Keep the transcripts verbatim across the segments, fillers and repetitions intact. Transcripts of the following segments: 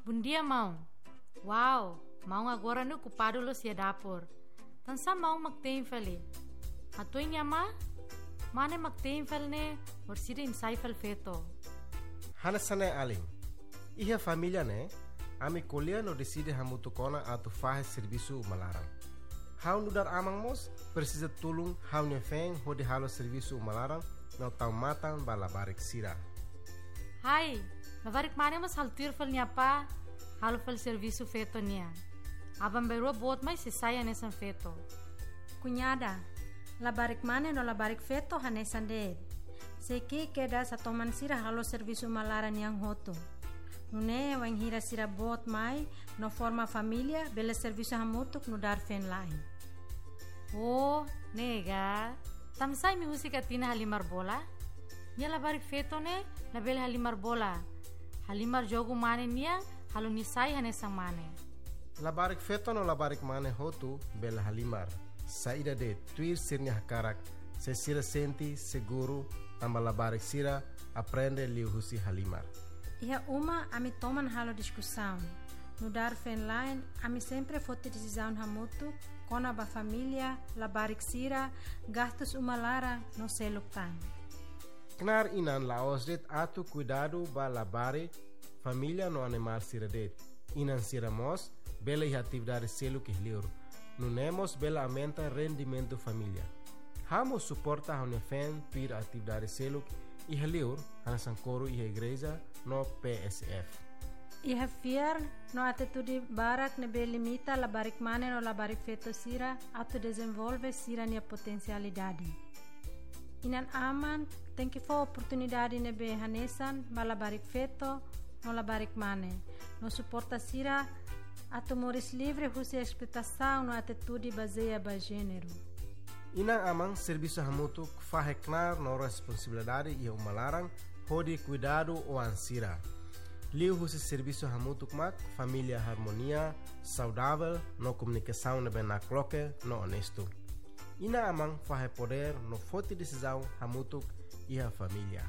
Bondia, maun. Wow, maun agora ne'e okupadu loos iha dapur. Tansá maun mak te'in fali? Hatudu iha ne'ebá, mane mak te'in fali ne'e, orsida imi sai fali feto. Hanesan ne'e alin. Iha família ne'e, ami ko'alia no deside hamutuk ona atu fahe servisu uma laran. Ha'u nu'udar aman mós presiza tulun ha'u-nia feen hodi halo servisu uma laran no tau matan ba labarik sira. Hai, labarik mane mós halo tuir fali nia apá, halo fali servisu feto nian. Aban-bainrua boot mai sei sai hanesan feto. Kuñada, labarik mane no labarik feto hanesan de'it. Sei ki'ik kedas hatoman sira halo servisu uma laran nian hotu. Nune'e wainhira sira boot mai no forma família, bele servisu hamutuk nu'udar feen-la'en. Oh, ne'e ka. Tansá imi husik Atina halimar bola? Nia labarik feto ne'e labele halimar bola. Halimar jogu mane nian, halo nia sai hanesan mane. Labarik feto no labarik mane hotu bele halimar. Saida de'it, tuir sira-nia hakarak, se sira sente seguru, tanba labarik sira aprende liuhusi halimar. Iha uma ami toman halo diskusaun. Nu'udar feen-la'en, ami sempre foti desizaun hamutuk kona-ba família, labarik sira, gastus uma laran no seluk tan. Knaar inan la'ós de'it atu kuidadu ba labarik, família no animál sira de'it. Inan sira mós bele iha atividade seluk iha liur. Nune'e mós bele aumenta rendimentu família. Ha'u mós suporta ha'u-nia feen tuir atividade seluk iha liur, hanesan koru iha igreja no P S F. Iha fiar no atitude barak ne'ebé limita labarik mane no labarik feto sira atu dezenvolve sira-nia potensialidade. Inan-aman tenke fó oportunidade ne'ebé hanesan ba labarik feto no labarik mane, no suporta sira atu moris livre husi esploitasaun no atitude bazeia ba jéneru. Inan-aman servisu hamutuk fahe knaar no responsabilidade iha uma laran hodi kuidadu oan sira. Liuhusi servisu hamutuk mak família harmonia, saudavel no komunikasaun ne'ebé nakloke no onestu. Inan-aman fahe podér no foti desizaun hamutuk iha família.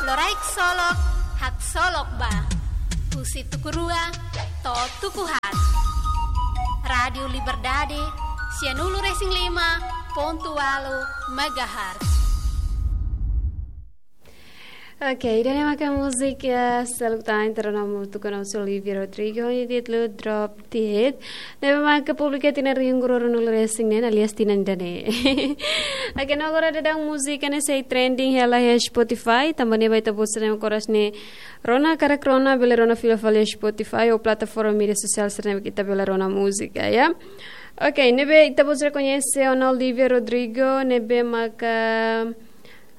Loraik solok, haksolok ba. Husi tuku rua to'o tuku haat. Rádiu Liberdade, sianulu resin lima pontu ualu megahertz. Oke, ida-ne'e maka múzika seluk tan entre rona hamutuk ho Olivia Rodrigo, nia títulu Drop Dead. Ne'ebé maka publika tinan rihun rua ruanulu resin neen, alias tinan ida-ne'e. Oke, no agora daudaun múzika ne'e sei trending hela iha Spotify, tanba ne'e ba ita-boot sira ne'ebé oras ne'e rona, hakarak rona, bele rona fila fali iha Spotify ou plataforma média sosiál sira ne'ebé ita bele rona múzika, ya. Oke, ne'ebé ita-boot sira koñese ona Olivia Rodrigo, ne'ebé maka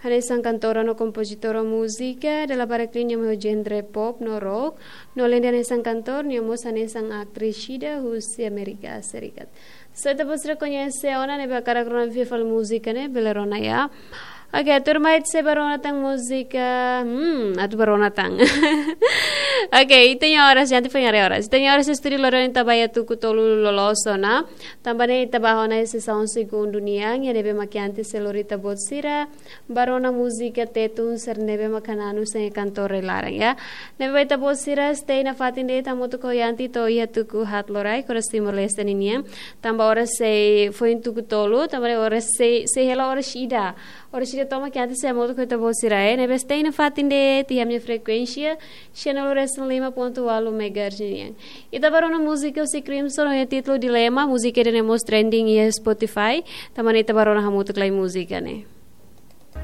hanesan kantora no kompozitora múzika, dala barak liu nia mak iha genre pop no rock, no alende hanesan kantor, nia mós hanesan aktris ida husi Amérika Serikat. Se ita-boot sira koñese ona, ne'ebé hakarak rona fila fali múzika ne'e, bele rona ya. Oke, tuirmai ita sei bá rona tan múzika, hmm, atu bá rona tan. Oke, ita-nia oras, jangan foin haree oras. Ita-nia oras iha estúdiu loron ita bá iha tuku tolu loloos ona. Tanba ne'e ita bá ona iha sesaun segundu nian, iha ne'ebé mak antes sei lori ita-boot sira bá rona múzika Tetun sira ne'ebé maka na'an-na'in kantora iha laran, ya. Ne'ebé ba ita-boot sira stay nafatin de'it hamutuk ho Yanti to'o iha tuku haat loraik, oras Timor-Leste ninian. Tanba oras sei foin tuku tolu, tanba ne'e oras sei, sei hela oras ida. Oras ida tomak Yanti sei hamutuk ho ita-boot sira, eh. Ne'ebé stay nafatin de'it iha ami-nia frekuénsia, sianulu resin lima pontu ualu megahertz nian. Ita bá rona múzika husi Crimson, ho títulu Dilema, múzika ida-ne'e mós trending iha Spotify, tanba ne'e ita bá rona hamutuk lai múzika ne'e.